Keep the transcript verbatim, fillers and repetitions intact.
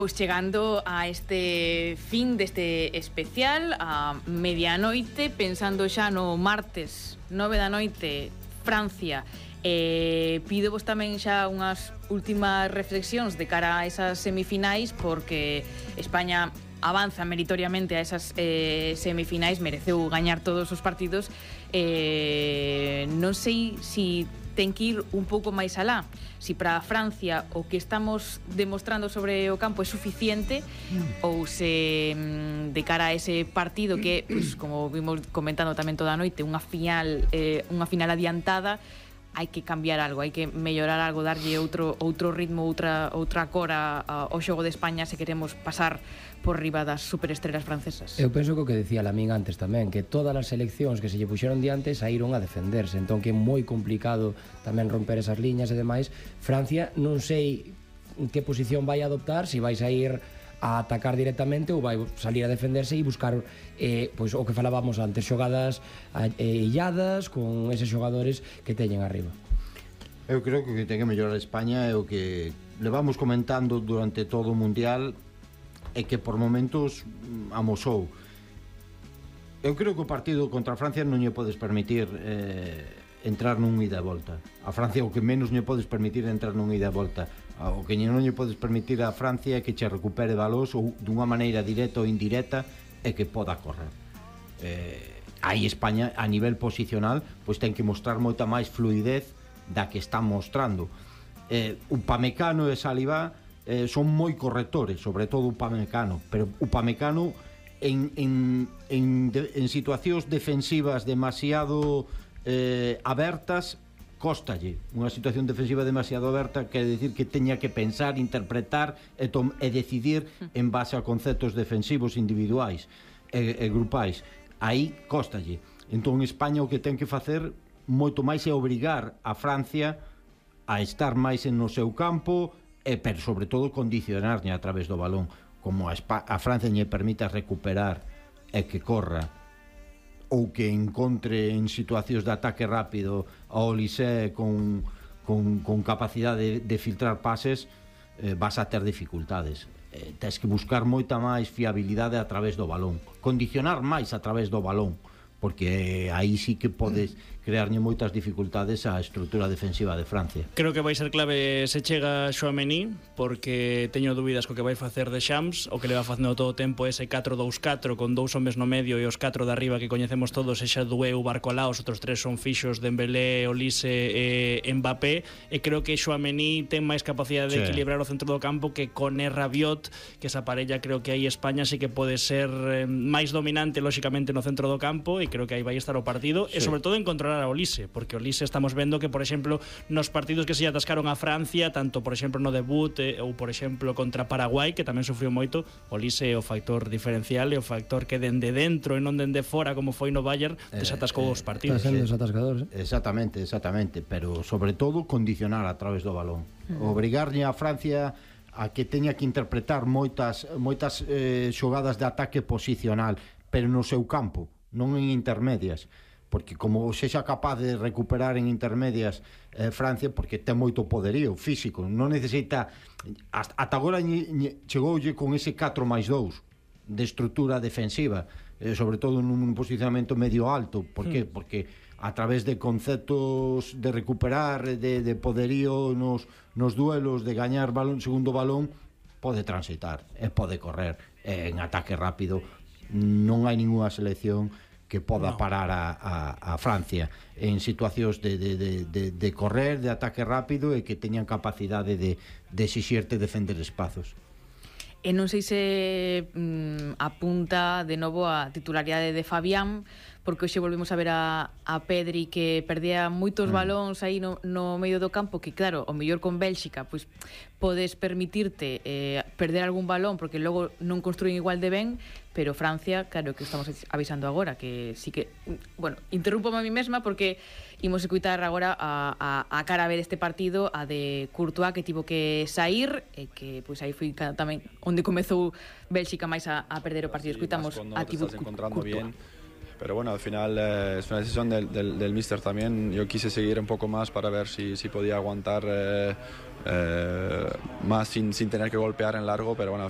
Pois chegando a este fin deste especial, a medianoite, pensando xa no martes nove da noite, Francia, eh, pido vos tamén xa unhas últimas reflexións de cara a esas semifinais, porque España avanza meritoriamente a esas eh, semifinais, mereceu gañar todos os partidos. Eh, non sei se ten que ir un pouco máis alá, si para Francia o que estamos demostrando sobre o campo é suficiente mm. ou se de cara a ese partido que, pues, como vimos comentando tamén toda a noite, unha final eh, unha final adiantada, hai que cambiar algo, hai que mellorar algo, darlle outro outro ritmo, outra outra cora ao xogo de España se queremos pasar por riba das superestrelas francesas. Eu penso que o que decía Lamín antes tamén, que todas as seleccións que se lle puxeron diante saíron a defenderse, entón que é moi complicado tamén romper esas liñas e demais. Francia non sei que posición vai adoptar, se vai sair a atacar directamente ou vai salir a defenderse e buscar eh, pois, o que falábamos antes, xogadas eh, illadas con eses xogadores que teñen arriba. Eu creo que o que ten que mellorar España é o que levamos comentando durante todo o Mundial, e que por momentos amosou. Eu creo que o partido contra a Francia non lle podes permitir eh, entrar nun ida e volta. A Francia o que menos lle podes permitir é entrar nun ida e volta. O que non lle podes permitir a Francia é que che recupere balós ou dunha maneira directa ou indirecta e que poda correr. Eh, aí España a nivel posicional pois ten que mostrar moita máis fluidez da que está mostrando. Eh, Upamecano e Saliba Eh, son moi correctores, sobre todo Upamecano, pero Upamecano en, en, en, de, en situacións defensivas demasiado eh, abertas cóstalle. Unha situación defensiva demasiado aberta quere decir que teña que pensar, interpretar e, tom, e decidir en base a conceptos defensivos individuais e, e grupais. Aí cóstalle. Entón España o que ten que facer moito máis é obrigar a Francia a estar máis en no seu campo, e pero sobre todo condicionarña a través do balón, como a, Espa- a Francia lle permita recuperar e que corra ou que encontre en situacións de ataque rápido a Olise con, con, con capacidade de, de filtrar pases, eh, vas a ter dificultades. Eh, tens que buscar moita máis fiabilidade a través do balón, condicionar máis a través do balón, porque aí sí que podes crearlle moitas dificultades á estrutura defensiva de Francia. Creo que vai ser clave se chega Tchouaméni, porque teño dúbidas co que vai facer de Shams. O que le va facendo todo o tempo ese catro dous catro con dous homes no medio e os catro de arriba que coñecemos todos, xa Dueu, Barcolá, os outros tres son fixos, Dembélé, Olise e Mbappé, e creo que Tchouaméni ten máis capacidade de sí. equilibrar o centro do campo que con Rabiot, que esa parella creo que aí España sí que pode ser máis dominante lóxicamente no centro do campo, e creo que aí vai estar o partido, sí. e sobre todo en controlar a Olise, porque Olise estamos vendo que, por exemplo, nos partidos que se atascaron a Francia, tanto, por exemplo, no debut eh, ou, por exemplo, contra Paraguai, que tamén sufriu moito, Olise é o factor diferencial e o factor que dende dentro e non dende fora, como foi no Bayern, desatascou eh, eh, os partidos. Está sendo desatascador, eh? Exactamente, exactamente, pero sobre todo condicionar a través do balón. Mm. Obrigarlle a Francia a que teña que interpretar moitas moitas eh, xogadas de ataque posicional, pero no seu campo, non en intermedias, porque como sexa capaz de recuperar en intermedias eh, Francia, porque ten moito poderío físico, non necesita hasta, ata agora lle, lle, chegoulle con ese catro máis dous de estrutura defensiva, eh, sobre todo nun posicionamento medio alto. Por que? Mm. Porque a través de conceptos de recuperar, de, de poderío nos, nos duelos, de gañar balón, segundo balón, pode transitar e pode correr eh, en ataque rápido. Non hai ninguna selección que poda no. parar a, a, a Francia en situacións de, de, de, de, de correr, de ataque rápido, e que teñan capacidade de, de exixirte defender espazos. E non sei se mm, apunta de novo a titularidade de Fabián, porque hoxe volvemos a ver a, a Pedri que perdía moitos mm. balóns aí no, no medio do campo, que claro, o mellor con Bélxica pois podes permitirte eh, perder algún balón porque logo non construen igual de ben, pero Francia, claro, que estamos avisando agora que sí que, bueno, interrúmpome a mí mesma porque imos escutar agora a, a, a cara a ver este partido, a de Courtois, que tivo que sair e que pois aí foi tamén onde comezou Bélxica máis a, a perder o partido. Sí, escuitamos a Thibaut Courtois. pero bueno, al final eh, es una decisión del, del, del míster también. Yo quise seguir un poco más para ver si, si podía aguantar eh, eh, más sin, sin tener que golpear en largo, pero bueno, al final